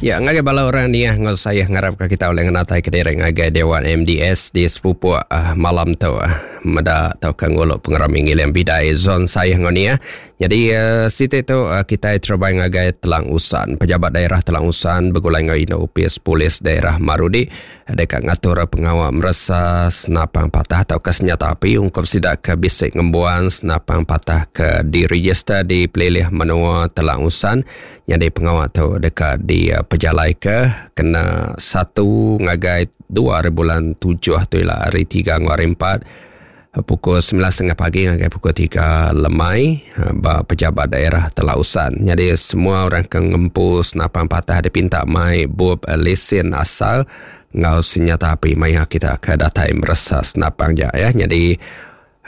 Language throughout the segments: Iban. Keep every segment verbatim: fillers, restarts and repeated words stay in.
Ya, ngagai bala orang ni ngau saya ngarap ke kita oleh ngenatai ke diri ngagai Dewan M D S di Sepupuk uh, malam tu uh, meda tau ke nguluk pengerami ngiling bidai zon saya ngau ni. Uh. Jadi uh, siti tu uh, kita terbai ngagai Telang Usan, pejabat daerah Telang Usan begulai ngau Ino Upis Polis Daerah Marudi dekat ngatur pengawal meresa senapang patah atau ke senjata api ungkup sidak ke bisik ngembuan senapang patah ke diregister di pelilih menua Telang Usan. Jadi pengawal tu dekat di uh, pejalai ke kena satu ngagai dua hari bulan tujuh tu ialah hari tiga ngau hari empat pukul sembilan setengah pagi ngagai pukul tiga lemai ba pejabat daerah Telang Usan. Jadi semua orang ke ngempu senapang patah dipinta mai bub lesen asal ngau senjata api maya kita ke datai meresa senapang ja ya. Jadi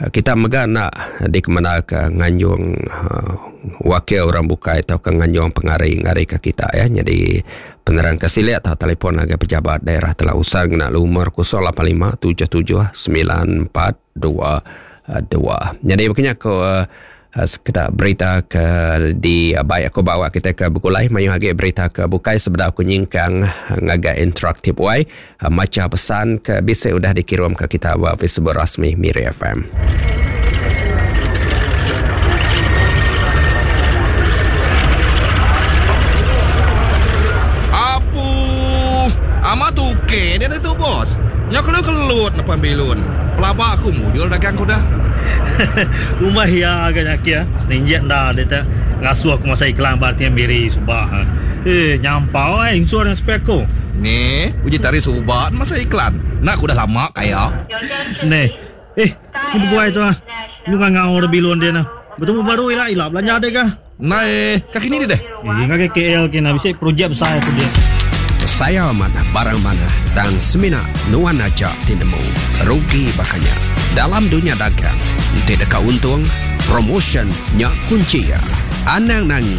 kita mega nak dikemana ke nganjung uh, wakil orang bukai atau ke nganjung pengari ngari ke kita ya. Jadi penerang ke silik atau telefon agar pejabat daerah Telang Usan kena lumur kosong lapan lima tujuh tujuh sembilan empat dua dua. Jadi maknanya aku uh, sekedar berita ke di uh, baik aku bawa kita ke Begulai mayu lagi berita ke bukai sebenar aku nyingkang ngagai interaktif wai uh, maca pesan ke bisa udah dikirim ke kita wa Facebook rasmi Miri F M. Apu amat tuke dia tu bos. Nya kelu kelut depan bilun. Pelaba aku mujur dagang ku dah. Rumah ya agak nyakia. Seninjek dah dia tak ngasuh aku masa iklan berarti Miri subah. Eh nyampau eh insur yang speko. Ni uji tari subah masa iklan. Nak aku dah lama kaya. Ni. Eh, ni buai tu ah. Lu ngangau dah bilun dia nah. Betul baru ila ila belanja dia kah? Nah, kaki ni dia deh. Eh, ngagai K L kena bisa projek besar aku dia. Saya mana barang mana dan semina nuan aja tinemu rugi bakanya. Dalam dunia dagang, tidak untung, promotion nya kunci ya. Anang nangi,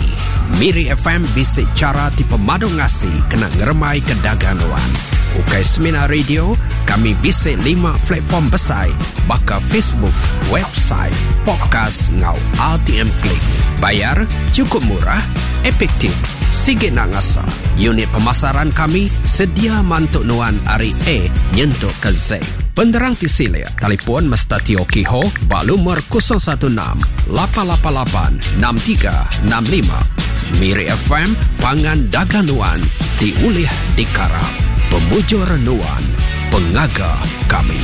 Miri F M bisik cara tipe madu ngasi kena ngeremai ke dagang nuan. Ukai Semina Radio, kami bisik lima platform besar, baka Facebook, website, podcast ngau R T M Click. Bayar cukup murah, efektif. Sige nak ngasa. Unit pemasaran kami sedia mantuk nuan ari A nyentuk ke Z. Penderang Tisilia, telefon Mestati Okiho, balumur kosong satu enam, lapan lapan lapan, enam tiga enam lima. Miri F M, pangan dagang nuan, diulih dikarap. Pemujur nuan, pengaga kami.